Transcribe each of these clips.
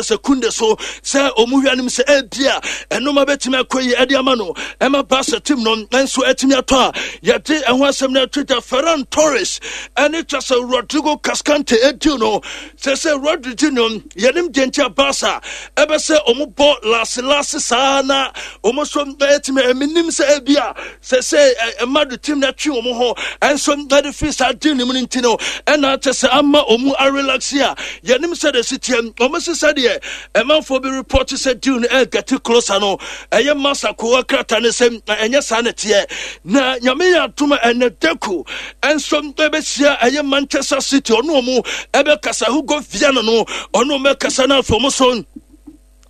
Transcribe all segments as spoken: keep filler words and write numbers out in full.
Sɛ Kunde so sɛ ɔmu hwɛ anim sɛ ebia ɛnoma bɛtumi akɔ yi ɛde ama no ɛma Barca team no nso atumi atɔ a yɛde ɛho asɛm no ato dwa. Ferran Torres ɛne kyɛ sɛ Rodrigo Cascante ɛdiw no sɛ sɛ Rodrigo no yɛnim deɛ nti a Barca ɛbɛ sɛ ɔmo bɔ laase saa na ɔmo nso ɛtumi ɛmenim sɛ ebia sɛ sɛ ɛma do team no atwe ɔmo ho ɛnso ɛde firi saa deal no mu no nti no ɛna kyɛ sɛ ama ɔmo arelax a yɛnim sɛ de si teɛ. Ɔmo si sɛdeɛ ɛmanfoɔ bi report sɛ deal no ɛget closer no, ɛyɛ masa kowa krataa ne sɛ ɛnyɛ saa ne teɛ. Na Nyame yɛ adom a, ɛnɛ Deco ɛnso ɛbɛhyia ɛyɛ Manchester City, ɔno ɔmo ɛbɛkasa Hugo Viana no, ɔno ɔmo ɛkasa no afei ɔmo so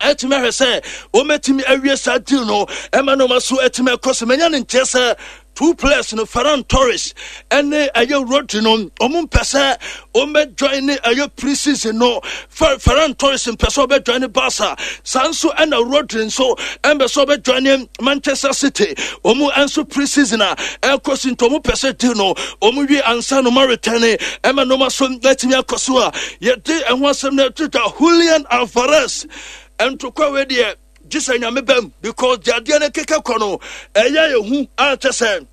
ɛtumi ahwɛ sɛ wɔmɛtumi awie saa deal no ɛma no ma so ɛtumi akɔ so. Manya ne nkyerɛ sɛ two players no, Ferran Torres ɛne ɛyɛ Rodri no, ɔmo mpɛ sɛ ɔmbɛ join ne ɛyɛ pre-season no. Ferran Torres mpɛ sɛ ɔbɛ join ne Barca, saa nso ɛna Rodri nso ɛmpɛ sɛ ɔbɛ join ne Manchester City. Ɔmo nso pre-season a ɛkɔ so nti ɔmo pɛ sɛ deal no ɔmo wie ansa no ma return ɛma no ma so ɛtumi akɔ so a yɛde ɛho asɛm no ɛtwitwa. Julian Alvarez ntokwa wei deɛ gye sɛ Nyame bɛm because deɛ no keka kɔ no ɛyɛ yɛ a kyɛ sɛ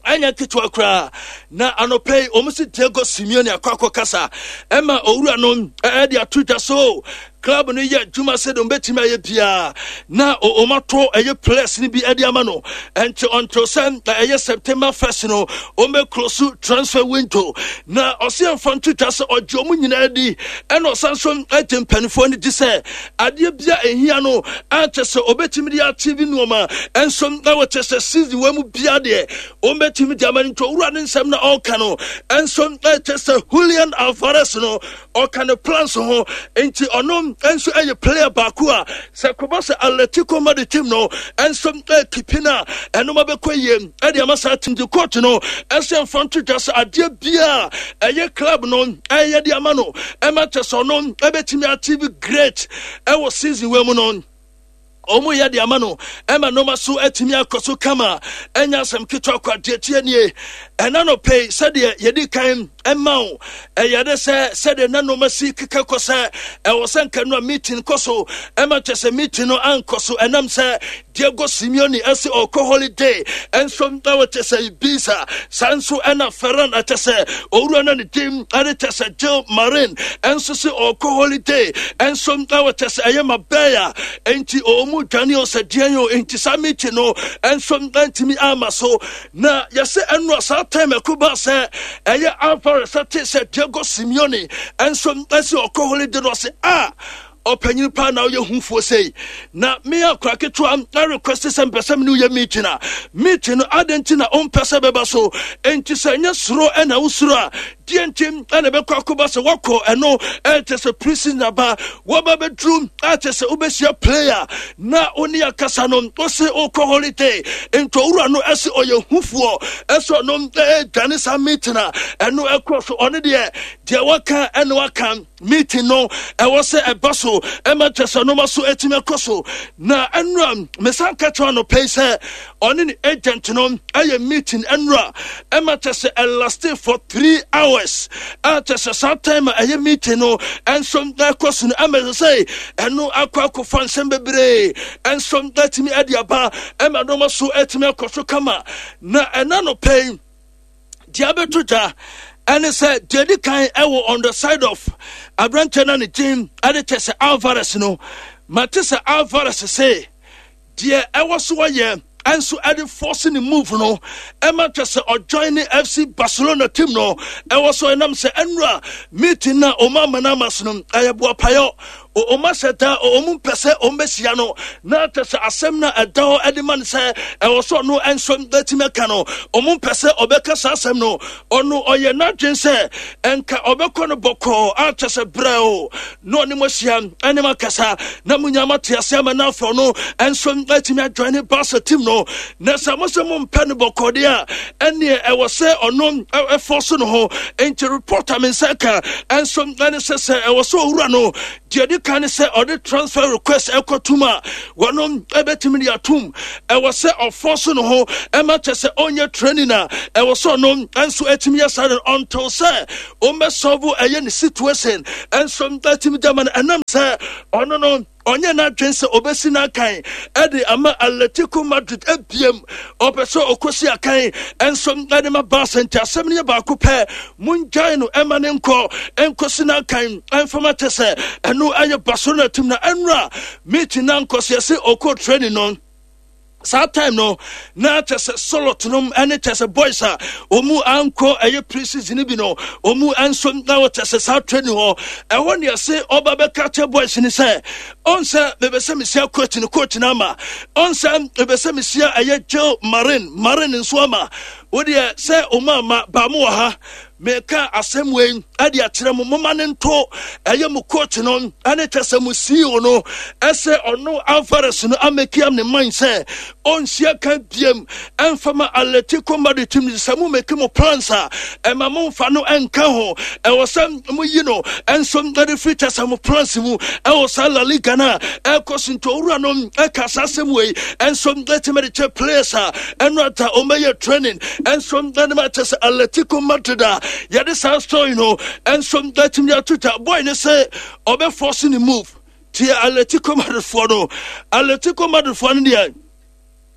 ɛnyɛ ketewa koraa. Na anɔpɛ yi wɔn si Diego Simeone akɔ akɔ kasa ɛma owura no ɛde ato dwa so club no yɛ adwuma sɛ de wɔbɛtumi ayɛ biara na wɔn ato ɛyɛ players no bi ɛde ama no. Ɛnti until sɛ ɛyɛ September first no wɔn bɛ close transfer window. Na ɔsi ɛnfa nto dwa sɛ ɔgye wɔn nyinaa di, ɛna ɔsan so ɛgye mpanimfoɔ no di sɛ adeɛ bia ehia no akyɛ sɛ ɔbɛtumi de achieve nneɛma ɛnso ɛwɔ kyɛ sɛ season wɔn mu bia deɛ wɔn bɛtumi de ama no. Nti owura ne nsɛm na ɔreka no ɛnso ɛkyɛ sɛ Julian Alvarez no ɔka ne plans ho, nti ɔno nso ɛyɛ player baako a sɛ kɔbɔ sɛ Atletico Madrid team no ɛnso ɛkeep no a ɛnoma bɛkɔ yie ɛde ama saa team. De coach no ɛsɛ mfa nto dwa sɛ adeɛ biaa ɛyɛ club no ɛyɛ de ama no ɛma kyɛ sɛ ɔno ɛbɛtumi achieve great ɛwɔ season wei mu no, ɔmo yɛ de ama no ɛma nneɛma so atumi akɔ so kama. Ɛnya asɛm ketewa kɔ adeɛ tie nie. Ɛna no pɛi sɛdeɛ yɛdi kan ɛma wo ɛyɛ de sɛ sɛdeɛ na nneɛma si keka kɔ sɛ ɛwɔ sɛ nka no a meeting kɔ so ɛma kyɛ sɛ meeting no ankɔ so ɛnam sɛ Diego Simeone ɛsɛ ɔkɔ holiday ɛnso ɛwɔ kyɛ sɛ Ibiza. Saa nso ɛna Ferran ɛkyɛ sɛ owura no ne din ɛde kyɛ sɛ Gil Marin ɛnso sɛ ɔkɔ holiday ɛnso ɛwɔ kyɛ sɛ ɛyɛ Marbella, enti ɔmu dwane o sɛ deɛn o, enti saa meeting no ɛnso ɛntumi ama so. Na yɛsɛ ɛno a saa time ɛko ba sɛ ɛyɛ Alvarez ɛte sɛ Diego Simeone ɛnso ɛsɛ ɔkɔ holiday no, ɔsɛ a ɔpanyin paa na ɔyɛ hufoɔ sei na me akora ketewa na request sɛ mpɛ sɛ me ne woyɛ meeting a meeting no adɛn nti na ɔmpɛ sɛ bɛba so? Enti sɛ ɛnyɛ soro ɛna wosoro a deɛ nti ɛna ɛbɛkɔ akɔba sɛ wakɔ ɛno ɛkyɛ sɛ prison aba wɔba bɛduru akyɛ sɛ wobɛhyia player na wo ne akasa no wo se wokɔ holiday. Nti owura no ɛsɛ ɔyɛ hufoɔ, ɛsɛ ɔno ɛdwane saa meeting a ɛno ɛkɔ so. Ɔno deɛ deɛ waka ɛna waka, meeting no ɛwɔ sɛ ɛba so ɛma kyɛ sɛ nneɛma so atumi akɔ so. Na ɛnura mesan ka kyerɛ no pɛi sɛ ɔne ne agent no ɛyɛ meeting ɛnura ɛma kyɛ sɛ ɛlast for three hours a kyɛ sɛ saa time a ɛyɛ meeting no ɛnso ɛkɔ so no ɛma sɛ ɛno akɔ akɔfa nsɛm bebree ɛnso ɛtumi ɛde aba ɛma nneɛma so atumi akɔ so kama. Na ɛna no pɛi deɛ abɛto dwa ɛne sɛ deɛ di kan ɛwɔ on the side of aberanteɛ no ne din ɛde kyɛ sɛ Alvarez no, mate sɛ Alvarez se deɛ ɛwɔ so wɔyɛ ɛnso ɛde force ne move no ɛma kyɛ sɛ ɔjoin ne F C Barcelona team no ɛwɔ so ɛnam sɛ ɛnura meeting na ɔmo ama no ama so no ɛyɛ boapayɔ. Ɔmo ahyɛ da ɔmo mpɛ sɛ ɔmo bɛhyia no na kyɛ sɛ asɛm no ɛda hɔ ɛde ma no sɛ ɛwɔ so ɔno ɛnso bɛtumi aka no, ɔmo mpɛ sɛ ɔbɛka saa asɛm no. Ɔno ɔyɛ n'adwen sɛ ɛnka ɔbɛkɔ no bɔkɔɔ akyɛ sɛ brɛ o na ɔne mo ahyia ɛne mo akasa na mo nyinaa moate ase ama no afɔ no ɛnso atumi ajoin ne Barca team no. Na sɛ mo sɛ mompɛ no bɔkɔɔ deɛ a, ɛneɛ ɛwɔ sɛ ɔno ɛfɔ so no ho. Enti report a me nsa ka ɛnso ɛne sɛ sɛ ɛwɔ sɛ owura no deɛ di Aka ne sɛ ɔde transfer request ɛkɔtum a wɔnom ɛbɛtumi de atum. Ɛwɔ sɛ ɔfɔ so no ho ɛma kyɛ sɛ ɔnyɛ training a ɛwɔ sɛ ɔno nso ɛtumi yɛ saa no until sɛ ɔmmɛsolve ɛyɛ ne situation ɛnso ɛtumi gyama no. Ɛnam sɛ ɔno no ɔnyɛ n'adwen sɛ ɔbɛsi n'akan ɛde ama Atletico Madrid ebiem, ɔpɛ sɛ ɔkɔsi akan ɛnso ɛde ma Barca. Nti asɛm no yɛ baako pɛ, mongyae no ɛma ne nkɔ ɛnkɔsi n'akan ɛmfama kyɛ sɛ ɛno ɛyɛ Barcelona team. Na ɛnura meeting na nkɔsi ɛsɛ ɔkɔ training no saa time no na kyɛ sɛ Sorloth nom ɛne kyɛ sɛ boys a ɔmu ankɔ ɛyɛ pre-season bi no, ɔmu nso na wɔkyɛ sɛ saa training hɔ ɛhɔ ne ɛse ɔba bɛka kyɛ boys ni sɛ ɔn sɛ mebɛ sɛ mesia coach no, coach no ama ɔn sɛ mebɛ sɛ mesia ɛyɛ Gil Marin, Marin nso ama wodeɛ sɛ ɔmu ama baamo wɔ ha. Meka asɛm wei ɛde akyerɛ mo, moma ne nto ɛyɛ mo coach no ɛne kyɛ sɛ mo C E O no ɛsɛ ɔno Alvarez no amake up ne mind sɛ ɔnsia ka biem ɛmfa Atletico Madrid team. Sɛ mo make mo plans a, ɛma momfa no ɛnka ho. Ɛwɔ sɛ moyi no ɛnso ɛde firi kyɛ sɛ mo plans mu ɛwɔ saa La Liga no a ɛkɔ so. Nti owura no ɛka saa asɛm wei ɛnso ɛtumi de kyɛ players a ɛno ata ɔmɛyɛ training ɛnso ɛde ma kyɛ sɛ Atletico Madrid a yɛde saa story no ɛnso ɛtumi ato twa. Boy ne sɛ ɔbɛforce ne move tie Atletico Madrid foɔ no. Atletico Madrid foɔ no deɛ,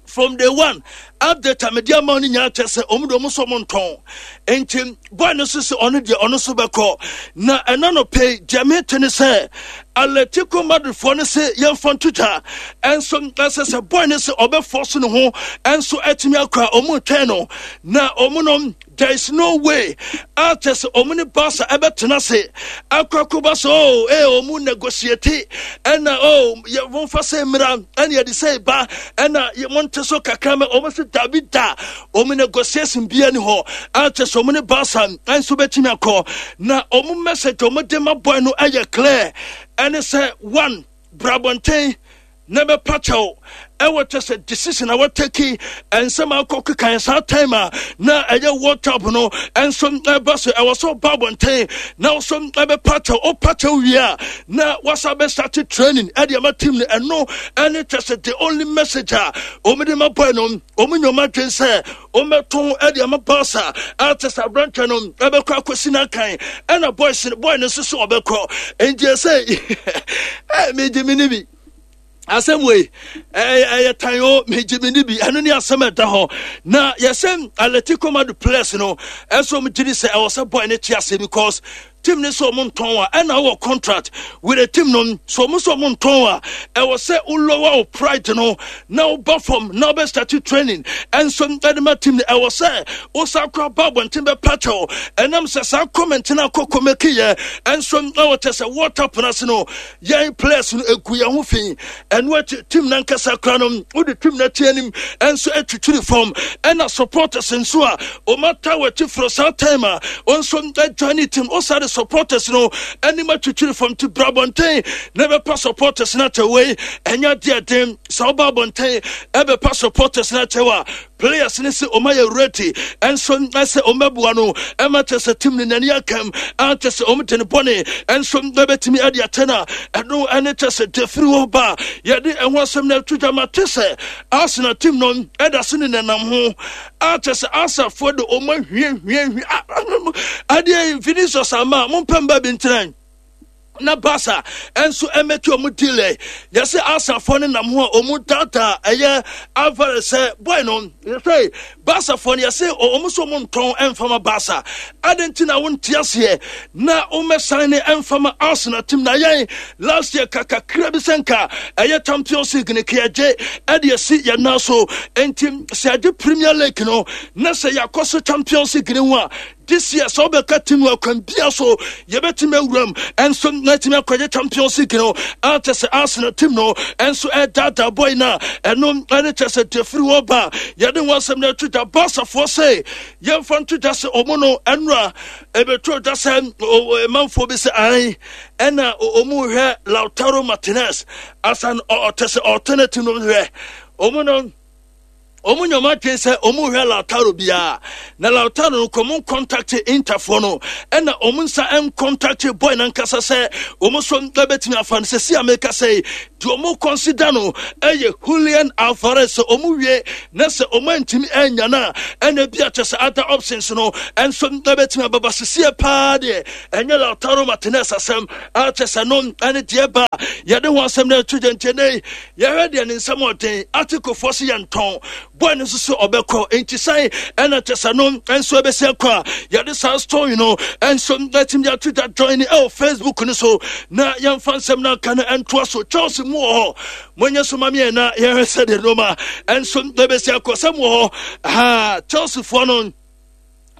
from day one update a mede ama no nyinaa kyɛ sɛ ɔmu de ɔmo nso ɔmo ntɔn. Nti boy no nso sɛ ɔno deɛ ɔno nso bɛkɔ. Na ɛna no pɛ deɛ mete ne sɛ Atletico Madrid foɔ no sɛ yɛmfa nto dwa ɛnso ɛsɛ sɛ boy no sɛ ɔbɛfɔ so ne ho ɛnso ɛtumi akɔ a ɔmo twɛn no. Na ɔmo no, there is no way a kyɛ sɛ ɔmo ne Barca ɛbɛtena se akɔ akɔba so o ee ɔmo negotiate ɛna o yɛ momfa sɛ mmira ɛna yɛde sɛ ba ɛna monte so kakra mɛ. Ɔmo sɛ dabi da, ɔmo negotiation bia ni hɔ a kyɛ sɛ ɔmo ne Barca ɛnso bɛtumi akɔ. Na ɔmo message ɔmo de ma boy no ɛyɛ clear, ɛne sɛ one, brabɔnten na bɛpa kyɛw ɛwɔ kyɛ sɛ decision a wɔtake ɛnsɛm akɔ kekan saa time a na ɛyɛ World Cup no ɛnso ɛba so. Ɛwɔ sɛ ɔba abɔnten na ɔso ɛbɛpa kyɛw. Ɔpa kyɛw wie a, na wasa bɛstart training ɛde ama team no. Ɛno ɛne kyɛ sɛ the only message a wɔn ma boy no. Wɔn nyɔma dwen sɛ wɔmɛtɔn ɛde ama Barca a kyɛ sɛ aberanteɛ no ɛbɛkɔ akɔsi n'akan ɛna boys boy no nso so ɔbɛkɔ. Nti ɛsɛ ɛ megye mi ni bi asɛm wei ɛyɛ tan o, megye me ni bi. Ɛno ne asɛm ɛda hɔ. Na yɛsɛ Atletico Madrid players no ɛnso ɔmo gye di sɛ ɛwɔ sɛ boy no te ase because team ne sɛ ɔmo ntɔn a ɛna wɔ contract with the team no so ɔmo sɛ ɔmo ntɔn a, ɛwɔ sɛ wolower wo pride no na woba fam na wobɛ start training ɛnso ɛde ma team no. Ɛwɔ sɛ wosa kora ba abɔnten bɛpa kyɛw ɛnam sɛ saa comment no akɔ kɔmɛkiyɛ ɛnso ɛwɔ kyɛ sɛ water pono ase no yɛn players no egu yɛn ho fi. Ɛno akyi team nankasa kora no wode team n'akyi anim ɛnso atwitwiri fam ɛna supporters nso a ɔmata w'akyi foro saa time a ɔnso adwane team ɔsa de supporters no anim atwitwiri fam. Ti bra abɔnten na ɛbɛpa supporters no akyɛw. Wei ɛnyɛ adeɛ den sɛ ɔba abɔnten ɛbɛpa supporters no akyɛw a players ne sɛ ɔma yɛ ready ɛnso ɛsɛ ɔmɛboa no ɛma kyɛ sɛ team no n'ani akam a kyɛ sɛ ɔmo de ne bɔne ɛnso ɛbɛtumi ɛde akyɛ no a ɛno ɛne kyɛ sɛ defiri hɔ ba yɛde ɛho asɛm no ato dwa. Ma te sɛ Arsenal team no ɛda so ne nenam ho a kyɛ sɛ Arsenalfoɔ de ɔmo ahwie hwie hwie adeɛ Vinicius ama mompɛ mba bi ntena na Barca ɛnso ɛmɛki ɔmo deal. Yɛsɛ Arsenalfoɔ no nam ho a ɔmo daadaa ɛyɛ Alvarez sɛ boy no yɛsɛ Barcafoɔ no yɛsɛ ɔmo nso ɔmo ntɔn ɛmfama Barca ade nti na wonte aseɛ na wɔmɛsan ne ɛmfama Arsenal team. Na yɛn last year kakakra bi sɛ nka ɛyɛ Champions League ne kɛgye ɛde asi yɛn nan so. Nti sɛ yɛgye Premier League no na sɛ yɛakɔ so Champions League ne ho a, this year sɛ wobɛka team no akwan bia so yɛbɛtumi awuram ɛnso na atumi akɔgye Champions League no a kyɛ sɛ Arsenal team no ɛnso ɛdaadaa boy no a ɛno ɛne kyɛ sɛ defiri hɔ ba yɛde ho asɛm no ato dwa. Barcafoɔ sɛ yɛmfa nto dwa sɛ ɔmo no ɛnora ɛbɛto dwa sɛ manfoɔ bi sɛ ae ɛna ɔmo hwɛ Lautaro Martinez asan ɔtɛ sɛ alternative no hwɛ ɔmo no. Ɔmo nyɛ ɔmo adwene sɛ ɔmo hwɛ Lautaro biara na Lautaro no kɔ ɔmo contact Interfoɔ no, ɛna ɔmo nsa ncontact boy nankasa sɛ ɔmo nso ɛbɛtumi afa no. Sɛsi a meka sɛ deɛ ɔmo consider no ɛyɛ Julian Alvarez. Sɛ ɔmo wie na sɛ ɔmo antumi anya no a, ɛna bi akyɛ sɛ other options no ɛnso ɛbɛtumi ababa. Sesie paa deɛ, ɛnyɛ Lautaro Martinez asɛm akyɛ sɛ no ɛne deɛ ba yɛde ho asɛm no ɛto gya. Ntiɛ yɛhwɛ deɛ ne nsɛm ɔden atikofoɔ so yɛntɔn boy no nso so ɔbɛkɔ, nti san ɛna kyɛ sɛ no nso ɛbɛsi akɔ a yɛde saa story no nso ɛtumi de ato dwa. Join ɛwɔ Facebook no so na yɛmfa nsɛm no aka no ɛntoa so. Chelsea mu wɔ hɔ, monyɛ so ma meɛ na yɛhwɛ sɛdeɛ nnoɔma ɛnso ɛbɛsi akɔ sɛ mu wɔ hɔ ha. Chelsea foɔ no,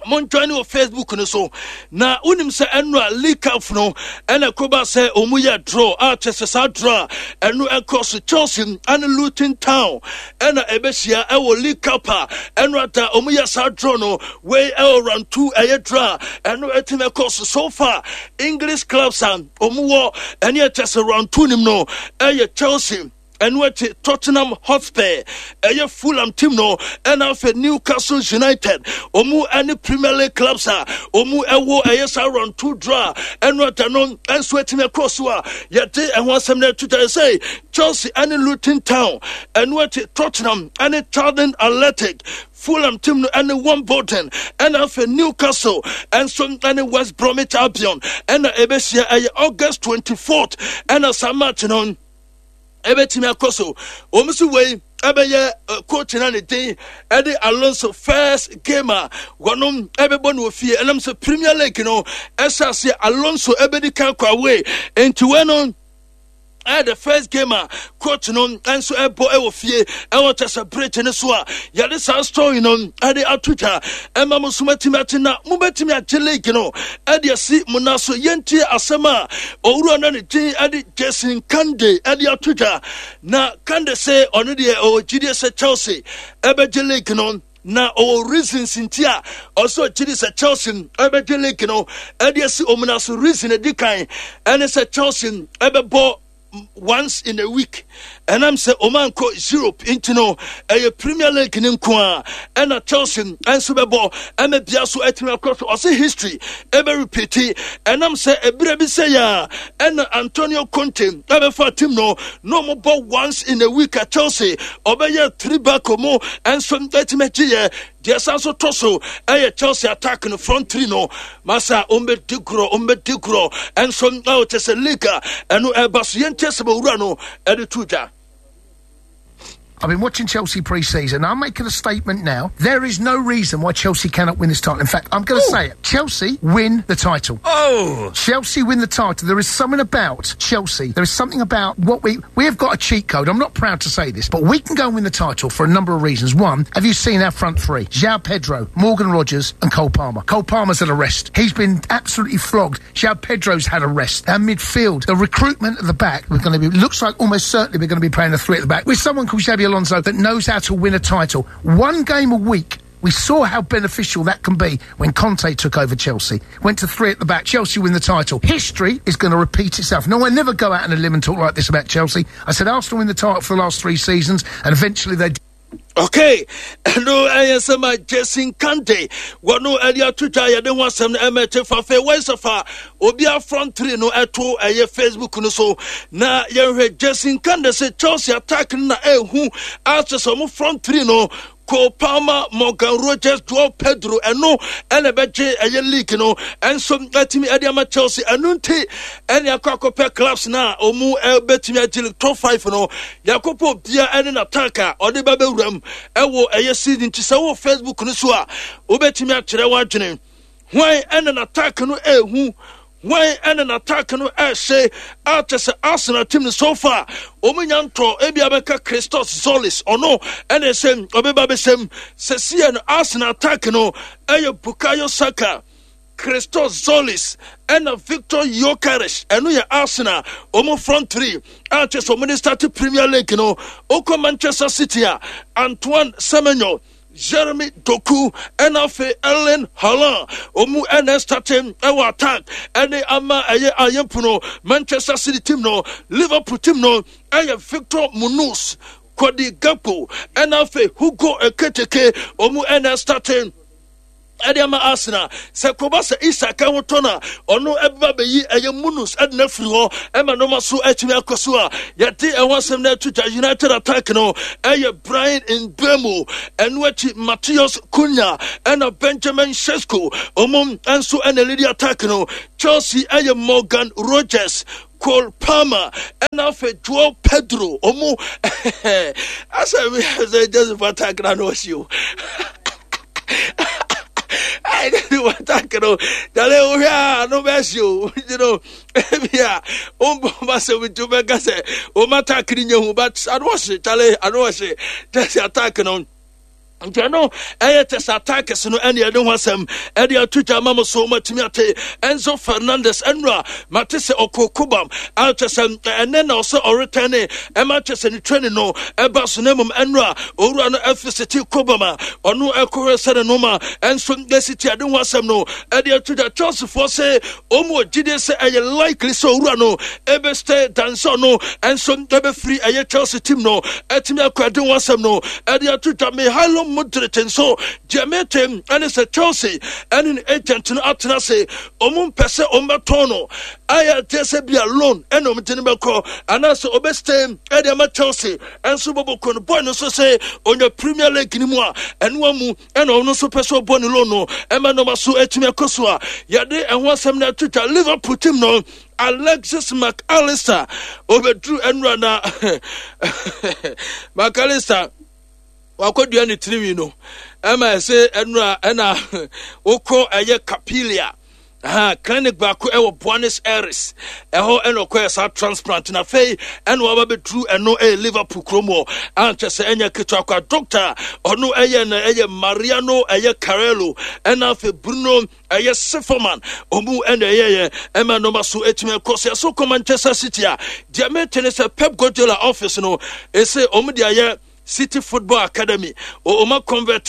monjoin wɔ Facebook no so. Na wonim sɛ ɛno a League Cup no ɛna ɛkɔba sɛ ɔmu yɛ draw a, kyɛ sɛ saa draw a ɛno ɛkɔ so, Chelsea ɛne Luton Town ɛna ɛbɛhyia ɛwɔ League Cup a ɛno ada ɔmu yɛ saa draw no wei ɛwɔ round two. Ɛyɛ draw a ɛno ɛtumi ɛkɔ so. So far, English clubs a ɔmu wɔ ɛne ɛkyɛ sɛ round two nim no ɛyɛ Chelsea, ɛno akyi Tottenham Hotspur, ɛyɛ Fulham team no, ɛna afei Newcastle United. Ɔmu ɛne Premier League clubs a ɔmu ɛwɔ ɛyɛ saa round two draw a ɛno ada no ɛnso atumi ɛkɔ so a yɛde ɛho asɛm no ɛto dwa sɛ Chelsea ɛne Luton Town, ɛno akyi Tottenham ɛne Charlton Athletic, Fulham team no ɛne Wimbledon, ɛna afei Newcastle ɛnso ɛne West Bromwich Albion ɛna ɛbɛhyia. Ɛyɛ August twenty-fourth ɛna saa match no ɛbɛtumi akɔ so. Wɔn nso wei ɛbɛyɛ coach na ne din ɛde Alonso first game a wɔnom ɛbɛbɔ no wɔ fie, ɛnam sɛ Premier League no ɛhyɛ aseɛ Alonso ɛbɛdi kan kɔ away, nti wei no ɛyɛ the first game a coach no nso ɛbɔ ɛwɔ fie ɛwɔ kyɛ sɛ bridge no so a yɛde saa story no ɛde ato dwa ɛma mo so matumi ate na mobɛtumi agye league no ɛde asi mo na so. Yɛntie asɛm a owura no ne din ɛde Jason Kande ɛde ato dwa. Na Kande sɛ ɔno deɛ ɔwɔ gyidie sɛ Chelsea ɛbɛgye league no, na ɔwɔ reasons nti a ɔsɛ ɔgyidi sɛ Chelsea ɛbɛgye league no ɛde asi ɔmo na so. Reason edi kan ɛne sɛ Chelsea ɛbɛbɔ once in a week, ɛnam sɛ ɔmo ankɔ Europe nti no, ɛyɛ Premier League ne nko a ɛna Chelsea nso bɛbɔ ɛma bia so ɛtumi akɔ so. Ɔsɛ history ɛbɛ repeat, ɛnam sɛ ɛberɛ bi sɛ yɛ a ɛna Antonio Conte ɛbɛfa team no na ɔmo bɔ once in a week a Chelsea ɔbɛyɛ three back mu ɛnso ɛtumi agye yɛ. Deɛ san so tɔ so ɛyɛ Chelsea attack no, front three no masa ɔmbɛdi gorɔ, ɔmbɛdi gorɔ ɛnso ɛwɔ kyɛ sɛ league a ɛno ɛba so. Yɛntie sɛ bɛwura no ɛde to dwa. I've been watching Chelsea pre-season. I'm making a statement now. There is no reason why Chelsea cannot win this title. In fact, I'm going to say it. Chelsea win the title. Oh! Chelsea win the title. There is something about Chelsea. There is something about what we we have got a cheat code. I'm not proud to say this, but we can go and win the title for a number of reasons. One, have you seen our front three? João Pedro, Morgan Rogers, and Cole Palmer. Cole Palmer's had a rest. He's been absolutely flogged. João Pedro's had a rest. Our midfield, the recruitment at the back, we're going to be looks like almost certainly we're going to be playing a three at the back with someone called Xabi Alonso that knows how to win a title. One game a week. We saw how beneficial that can be when Conte took over Chelsea. Went to three at the back. Chelsea win the title. History is going to repeat itself. No, I never go out on a limb and talk like this about Chelsea. I said Arsenal win the title for the last three seasons, and eventually they Okay, ɛno ɛyɛ sɛ ma Jason Kante wɔno ɛde ato dwa. Yɛde ho asɛm no ɛmɛkye fa fɛ wɔyɛ fa obi front three no ɛto ɛyɛ Facebook no so na yɛhwɛ. Jason Kante sɛ Chelsea attack no na ɛhu akyɛ sɛ ɔmo front three no, Cole Palmer, Morgan Rogers, Joao Pedro, ɛno ɛna ɛbɛgye ɛyɛ league no ɛnso ɛtumi ɛde ama Chelsea. Ɛno nti ɛne akɔ akɔpɛ clubs na ɔmu ɛbɛtumi agye top five no, yɛakɔpɛ obia ɛne n'attack a ɔde ba bɛwura mu ɛwɔ ɛyɛ season. Nti sɛ wɔ Facebook no so a, wobɛtumi akyerɛ w'adwene hwan ɛna n'attack no ɛɛhu, hwan ɛna n'attack no ɛhyɛ akyɛ sɛ Arsenal team no so far wɔn nya ntɔ ebi abɛka Christos Tzolis, ɔno ɛna ɛsɛ ɔbɛba bɛsɛm sɛ seɛ no. Arsenal attack no ɛyɛ Bukayo Saka, Christos Tzolis ɛna Victor Gyokeres. Ɛno yɛ Arsenal wɔn front three a kyɛ sɛ wɔn de start Premier League no. Okɔ Manchester City a, Antoine Semenyo, Jeremy Doku ɛna afei Erling Haaland, ɔmu ɛna starting ɛwɔ attack ɛne ama ɛyɛ ayɛmpo no Manchester City team no. Liverpool team no ɛyɛ Victor Munoz, Cody Gakpo ɛna afei Hugo Ekitike ɔmu ɛna starting ɛde ama Arsenal. Sɛ kɔba sɛ Isak ho tɔ no a, ɔno ɛbɛba bɛyi ɛyɛ Munus ɛde no afiri hɔ ɛma nneɛma so atumi akɔ so a yɛde ɛho asɛm no ato gya. United attack no ɛyɛ Bryan Mbeumo, ɛno akyi Matheus Cunha ɛna Benjamin Sesko, ɔmo nso ɛna lead attack no. Chelsea ɛyɛ Morgan Rogers, Cole Palmer ɛna afei Joao Pedro. Ɔmo asɛ sɛ Joseph attack na no ɔsi o ɛne attack no dale wohwɛ a no bɛhye o. Nti no ebia wombɔ ma sɛ nti wobɛka sɛ wɔn attack no nyɛ hu, but ano ɔhye kyale, ano ɔhye Chelsea attack no. Nti ɛno ɛyɛ tɛ sɛ attacks no ɛne ɛde ho asɛm ɛde ato gya ama mo so matumi ate. Enzo Fernandez ɛnura mate sɛ ɔkɔ Cobham a kyɛ sɛ ɛnɛ na ɔsɛ ɔretɛne ɛma kyɛ sɛ ne training no ɛba so, na mmom ɛnura owura no ɛfisiti Cobham a ɔno ɛkɔhwɛ sɛ ne noma ɛnso ɛsi ti ade ho asɛm no ɛde ato gya. Chelseafoɔ sɛ ɔmu wɔ gyidie sɛ ɛyɛ likely sɛ owura no ɛbɛstay dansa no ɛnso ɛbɛfiri ɛyɛ Chelsea team no ɛtumi akɔ. Ɛde ho asɛm no ɛde ato dwa. Mykhailo Mudryk nso deɛ mete ɛne sɛ Chelsea ɛne ne agent no atena ase, ɔmo mpɛ sɛ ɔmo bɛtɔn no, ayɛ te sɛ bia loan ɛna ɔmo de no bɛkɔ anaasɛ ɔbɛstay ɛde ama Chelsea ɛnso bɔbɔ no. Boy no nso sɛ ɔnya Premier League no mu a, ɛno amu ɛna ɔno nso pɛ sɛ ɔbɔ ne loan no ɛma nɔɔma so atumi akɔ so a yɛde ɛho asɛm no ato dwa. Liverpool team no, Alexis McAllister obɛduru ɛnura na McAllister wakɔdua ne tirinwi no ɛma ɛsɛ ɛnura ɛna wokɔ ɛyɛ Capilia aha clinic baako ɛwɔ Buenos Aires ɛhɔ ɛna ɔkɔyɛ saa transplant, na afei ɛna waba bɛduru ɛno ɛyɛ Liverpool kurom hɔ ankyɛ sɛ ɛnyɛ ketewa kwa. Doctor ɔno ɛyɛ no ɛyɛ Mariano ɛyɛ Carrelo, ɛna afei Bruno ɛyɛ Sifoman, ɔmu ɛna ɛyɛyɛ ɛma nɔɔma so ɛtumi ɛkɔ so. Yɛso kɔ Manchester City a, deɛ mete ne sɛ Pep Guardiola office no ɛsɛ ɔmu de ayɛ City Football Academy, ɔma convert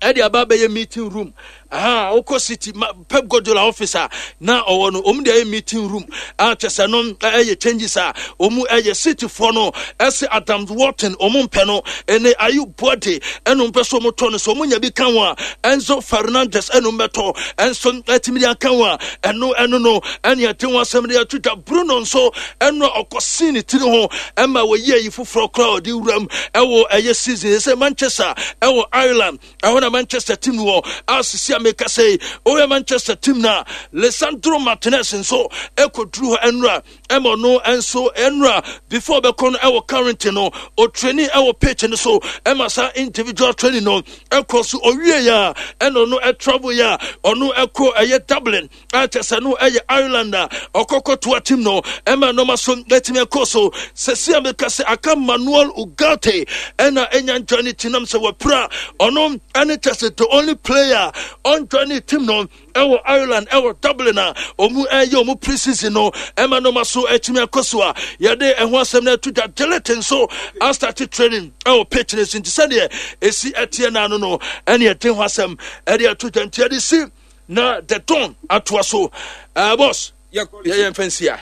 ɛde aba bɛyɛ meeting room. Aha wokɔ City ma, Pep Guardiola office a na ɔwɔ no, ɔmu de ayɛ meeting room a kyɛ sɛ no ɛyɛ changes a ɔmu ɛyɛ. Cityfoɔ no ɛsɛ Adam Wharton ɔmu mpɛ no, ɛne Ayyoub Bouaddi ɛno mpɛ so ɔmu tɔ no, so ɔmu nya bi ka ho a Enzo Fernandez ɛno mbɛtɔ ɛnso ɛtumi de aka ho a ɛno ɛno no ɛne ɛde ho asɛm de ato dwa. Bruno nso ɛno a ɔkɔsii ne tiri ho ɛma wɔyi ayi foforɔ koraa ɔde wuram ɛwɔ ɛyɛ season sɛ Manchester ɛwɔ Ireland ɛhɔ na Manchester team wɔ a sisi a meka sɛ ɔyɛ Manchester team na Lisandro Martinez nso ɛkɔduru hɔ ɛnura ɛma ɔno nso ɛnura before bɛkɔ no ɛwɔ current no ɔtraining ɛwɔ pitch no so ɛma saa individual training no ɛkɔ so. Ɔwie yɛ a ɛna ɔno ɛtravel yɛ a ɔno ɛkɔ ɛyɛ Dublin a kyɛ sɛ no ɛyɛ Ireland a ɔkɔkɔ toa team no ɛma nɔɔma so ɛtumi ɛkɔ so. Sɛsi a meka sɛ aka Manuel Ugarte ɛna ɛnya join team nam sɛ wɔpira ɔno ɛne kyɛ sɛ the only player ɔnjoin team no ɛwɔ Ireland ɛwɔ Dublin a ɔmu ɛyɛ ɔmu pre-season no ɛma nɔɔma so ɛtumi akɔ so a yɛde ɛho asɛm no ɛto dwa. De Ligt nso astart training ɛwɔ pitch no so, nti sɛdeɛ ɛsi ɛteɛ n'ano no ɛne ɛde ho asɛm ɛde ɛto dwa. Nti yɛde si na the Don atoa so. uh, boss yɛyɛ mfa nsi a.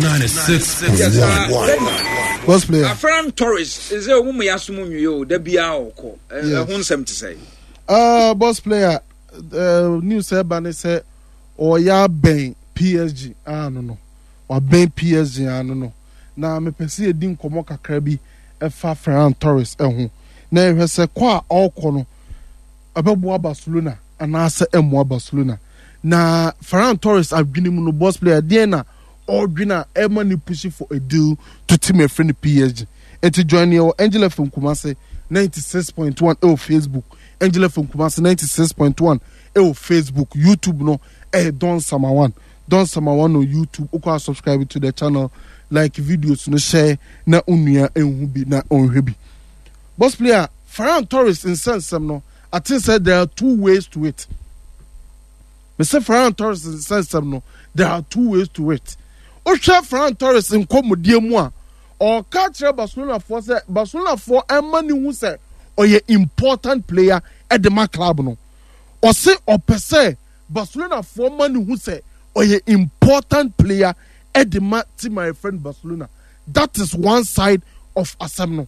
ninety-six point one. Boss player. Ferran Torres sɛ ɔmu mu yɛasom nwie o, da biara ɔkɔ. Ɛho nsɛm te sɛ? Uh, boss player, uh, news ɛba ne sɛ ɔyɛ abɛn P S G ano no, wabɛn P S G ano no, na mepɛ sɛ yɛdi nkɔmmɔ kakra bi ɛfa Ferran Torres ɛho na yɛhwɛ sɛ kɔ a ɔrekɔ no ɛbɛboa Barcelona anaasɛ ɛmmoa Barcelona. Na Ferran Torres adwene mu no, boss player, deɛn na ɔredwene a ɛma ne push for a deal to team ɛfrɛ no P S G? Nti join yɛ wɔ Angel F M Kumase ninety-six point one ɛwɔ Facebook, Angel F M Kumase ninety-six point one ɛwɔ Facebook. YouTube no ɛyɛ Don Samawan, Don Samawan on YouTube. Wokɔ a, subscribe to the channel, like videos no, share na onua ɛnhu bi na ɔnhwɛ bi. Boss player, Ferran Torres nsɛnsɛm no, I think say there are two ways to it. Mr Ferran Torres nsɛnsɛm no, there are two ways to it. Wohwɛ Ferran Torres nkɔmmɔdie mu a, ɔka kyerɛ Barcelonafoɔ sɛ Barcelonafoɔ ɛma ne hu sɛ ɔyɛ important player ɛde ma club no. Ɔse ɔpɛ sɛ Barcelonafoɔ ma ne hu sɛ ɔyɛ important player ɛde ma team a yɛfrɛ no Barcelona. That is one side of asɛm no.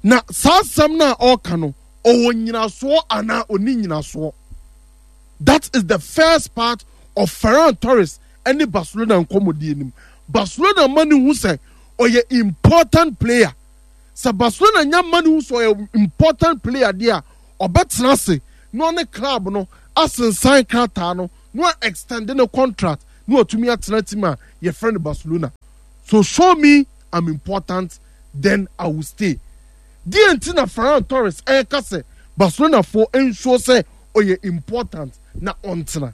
Na saa asɛm no a ɔreka no, ɔwɔ nyinasoɔ anaa ɔni nyinasoɔ? That is the first part of Ferran Torres ɛne Barcelona nkɔmmɔdie nim. Barcelona ma ne hu sɛ ɔyɛ important player. Sɛ Barcelona nya ma ne hu sɛ ɔyɛ important player deɛ a, ɔbɛtena ase na ɔne club no asensan krataa no na wa extend ne contract na watumi atena team a yɛfrɛ no Barcelona. So show me I'm important, then I will stay. Deɛ nti na Ferran Torres ɛreka sɛ Barcelona foɔ nsuo sɛ ɔyɛ important na ɔntena,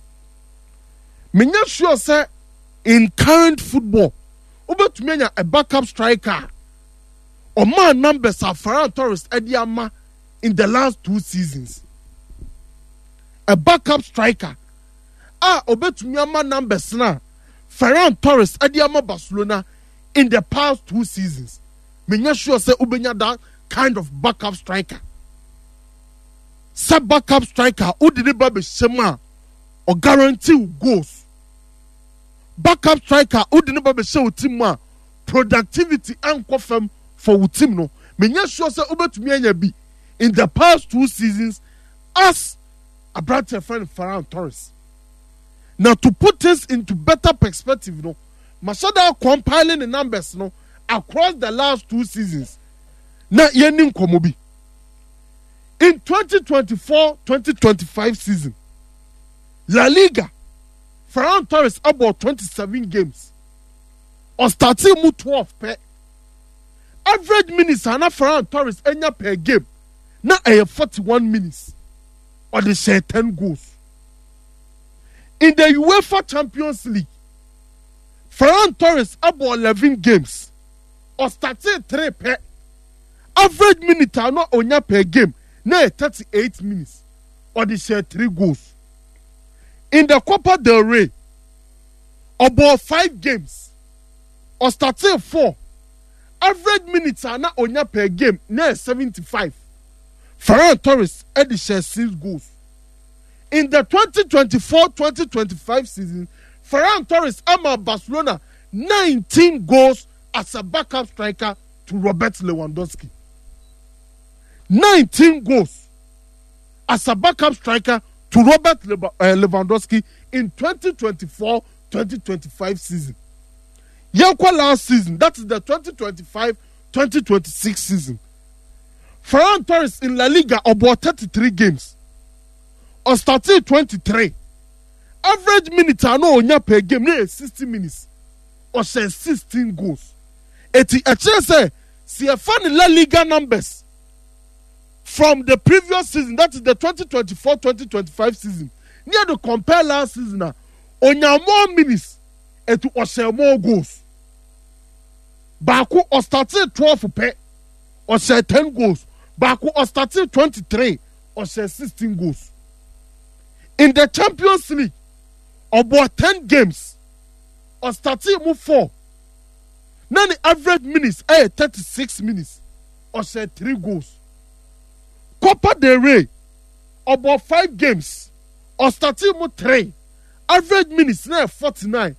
menya sure sɛ in current football wobɛtumi anya a backup striker a ɔmaa numbers a Ferran Torres ɛde ama in the last two seasons. A backup striker a obetumi ama numbers na Ferran Torres ɛde ama Barcelona in the past two seasons, menya sure sɛ wobɛnya that kind of backup striker. Sɛ backup striker wode ne ba bɛhyɛ mu a, ɔguarantee wo goals. Backup striker wode ne ba bɛhyɛ wo team mu a, productivity ankɔ fam for wo team no, menya sure sɛ wobɛtumi anya bi in the past two seasons as aberanteɛ friend Ferran Torres. Na to put things into better perspective no, mahyɛ da compiling the numbers no across the last two seasons na yɛni nkɔmmɔ bi. In twenty twenty-four twenty twenty-five season, La Liga, Ferran Torres abɔ twenty-seven games, ɔstartee mu twelve pɛ. Average minutes a na Ferran Torres anya per game na ɛyɛ forty-one minutes. Ɔde hyɛ ten goals. In the UEFA Champions League, Ferran Torres abɔ eleven games, ɔstartee three pɛ. Average minute a na onya per game na yɛ thirty-eight minutes. Ɔde hyɛ three goals. In the Copa del Rey, ɔbɔ five games, ɔstartee four. Average minutes a na onya per game na yɛ seventy-five. Ferran Torres ɛde hyɛ six goals. In the twenty twenty-four twenty twenty-five season, Ferran Torres ama Barcelona nineteen goals as a backup striker to Robert Lewandowski. nineteen goals as a backup striker to Robert Lewandowski in twenty twenty-four twenty twenty-five season. Yɛnkɔ last season, that is the twenty twenty-five twenty twenty-six season. Ferran Torres in La Liga, ɔbɔ thirty-three games, ɔstartee twenty-three. Average minute a na onya per game ne yɛ sixty minutes. Ɔhyɛ sixteen goals. Eti ɛkyerɛ sɛ si ɛfa ne La Liga numbers from the previous season, that is the twenty twenty-four twenty twenty-five season, ne yɛ de compare last season a, onya more minutes, etu ɔhyɛ more goals. Baako ɔstartee twelve pɛ, ɔhyɛ ten goals. Baako ɔstartee twenty-three, ɔhyɛ sixteen goals. In the Champions League, ɔbɔ ten games, ɔstartee mu four. Na ne average minutes ɛyɛ thirty-six minutes. Ɔhyɛ three goals. Copa del Rey, ɔbɔ five games, ɔstartee mu three. Average minutes na yɛ forty-nine.